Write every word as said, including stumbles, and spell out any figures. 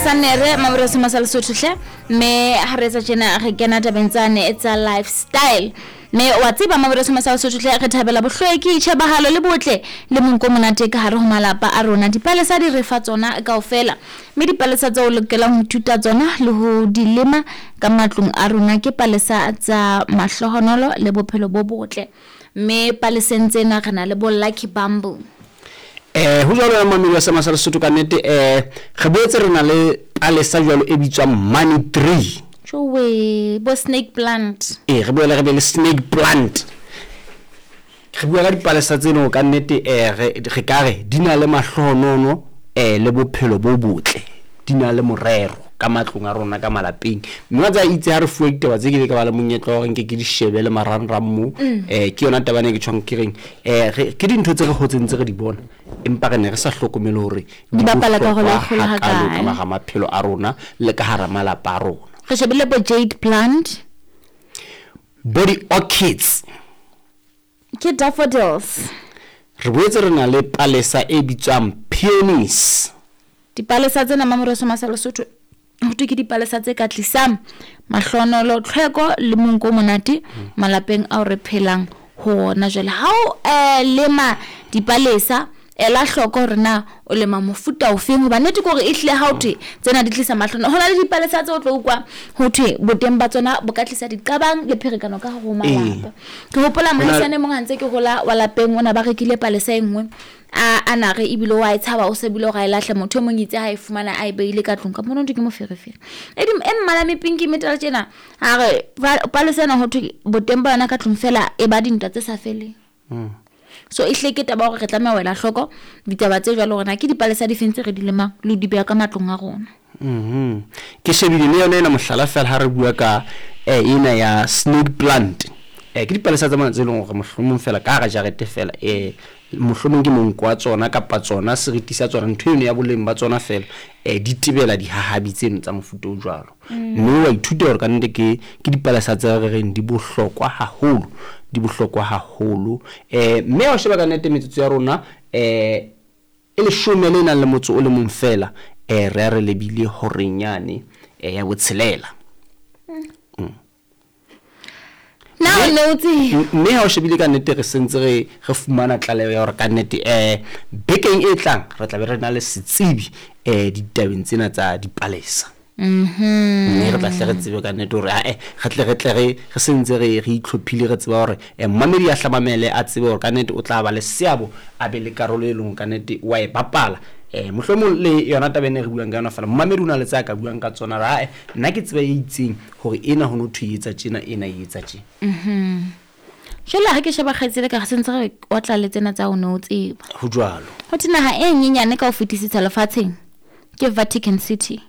Sannere Mamoreso Masa Lesotho hle, mme ha re etsa tjena re kena tabeng tsane tsa lifestyle. Mme wa tseba Mamoreso Masa Lesotho hle, re thabela bohlweki, tjhebahalo le botle le monko o monate ka hare ho malapa a rona. Dipalesa di re fa tsona kaofela, mme dipalesa tseo o lokelang ho ithuta tsona le ho di lema ka matlong a rona ke palesa tsa mahlohonolo le bophelo bo botle. Mme paleseng tsena re na le bo lucky bamboo. Eh ho jwalo ya mamedi wa Seema sa Lesotho ka nnete, eh re boetse re na le palesa jwalo e bitswang money tree. Jowe, bo snake plant. Eh re boele re be le snake plant. Re bua ka dipalesa tseno ka nnete, eh re re ka re di na le mahlohonono eh le bophelo bo botle, di na le morero ka matlong a rona ka malapeng. Mme wa tseba itse ha re fuwe ditaba tse, ke ile ka ba le monyetla wa hore nke ke di shebe le marangrang moo. Eh ke yona taba ena e ke tjhong ke reng, eh re ke dintho tse re hotseng tse re di bona, empa re ne re sa hlokomele hore di bapala karolo e bohlokwa kgolo hakalo ka hakae. hara maphelo a rona le ka hara malapa a rona. Re shebile bo jade plant, bo di-orchids, ke daffodils. Re boetse re na le palesa e bitswang peonies. Dipalesa tsena Mamoreso Masa Lesotho ho thwe ke dipalesa tse ka tlisang mahlonolo, tlhweko le monko o monate malapeng ao re phelang ho ona. Jwale ha o eh, lema dipalesa, ela hloko hore na o lema mofuta ofeng, hoba nnete ke hore ehlile ha o thwe tsena di tlisa mahlono. Ho na le dipalesa tse o tlo utlwa ho thwe boteng ba tsona bo ka tlisa diqabang le pherekano ka hare ho malapa. Ke hopola mohaisane mong ha ntse ke hola wa lapeng, o na ba rekile palesa e nngwe a a na re ebile wa e tshaba, o se bile hore a e lahle. Motho e mong itse ha e fumana a e beile ka tlung ka mona, ke moferefere e di e mmala mepinki metala tjena. A re palesa ena ho thwe boteng ba yona ka tlung fela e ba dintwa tse sa feleng. So e hle ke taba hore re tlameha ho ela hloko ditaba tse jwalo, hore na ke dipalesa di feng tse re di lemang le ho di beha ka matlong a rona. Mhm. Ke shebile le yona ena mohlala fela ha re bua ka eh ena ya snake plant. Eh ke dipalesa tsa mona tse leng hore mohlomong fela ka hara jarete fela, eh mohlomong ke monko wa tsona kapa tsona seriti sa tsona, ntho eno ya boleng ba tsona fela, eh di tebela dihahabi tseno tsa mofuta o jwalo. Mme wa ithuta hore ka nnete ke ke dipalesa tse re reng di bohlokwa haholo, di bohlokwa haholo. Eh mme ha o sheba ka nnete metsotso ya rona eh e leshome le nang le motso o le mong fela, eh re a re lebile horeng yane eh ya botshelela. Na o ne o tseba? Mme ha o shebile ka nnete re sentse re re fumana tlaleho ya hore ka nnete eh bekeng e tlang re tla be re na le setsebi eh ditabeng tsena tsa dipalesa. Mhm. Mme re tla hle re tsebe ka nnete hore ae re tle re tle re re sentse re re itlhophile, re tseba hore eh mmamedi a hlamamele a tsebe hore ka nnete o tla ba le seabo, a be le karolo e leng ka nnete wa e bapala. Eh mohlomong le yona taba ena re buang ka yona fela, mmamedi o na le tse a ka buang ka tsona, ra ae nna ke tseba e itseng hore ena ho no thwe e etsa tjena, ena e etsa tjena. Mhm. Jwale ha ke sheba kgaitsedi ka re sentse re otla le tsena tsa o ne o tseba. Ho jwalo. Ho thwe naha e nyenyane ka ho fetisisa lefatsheng ke Vatican City.